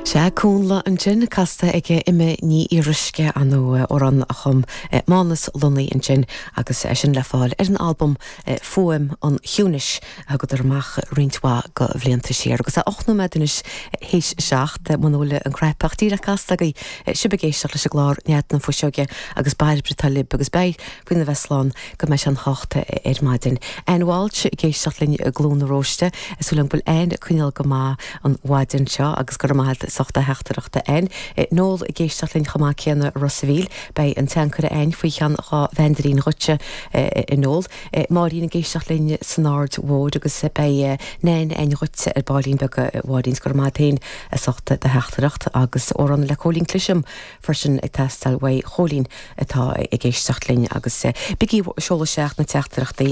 Sea, Cúnla ansin, casta ag Emma Ní Fhíoruisce, ar ndóigh, amhrán a chum Mánus Lunny ansin agus é sin le fáil ar an albam Fuaim an Chiúnais a thugadar amach roinnt mhaith de bhlianta siar. Agus é 8 nóiméad anois théis 7, muna bhfuil an cnaipe díreach casta agaibh, sibh ag éisteacht leis an gclár Nead na Fuiseoige agus Bairbre atá libh agus beidh faoina bheith slán go mbeidh sé an 8 ar maidin. Anne Walsh ag éisteacht linn i gCluain na Róiste. Súil agam go bhfuil Anne ag coinneáil go maith an mhaidin seo agus go raibh maith agat as ucht do theachtaireachta Anne. Noel ag éisteacht linn chomh maith céanna i Ros a' Mhíl. Beidh an t-ancaire a'inn faoi cheann 2 mheandairín dhuitse a Noel. Máirín ag éisteacht linn san Aird Mhóir agus beidh Nain a'inn dhuitse ar baillín beag a Mháirín. Go raibh maith agat féin as ucht do theachtaireacht agus amhrán le Cóilín Cliseam freisin ag teastáil uaidh Chóilín atá ag éisteacht linn agus bígí ag seoladh isteach na teachtaireachtaí.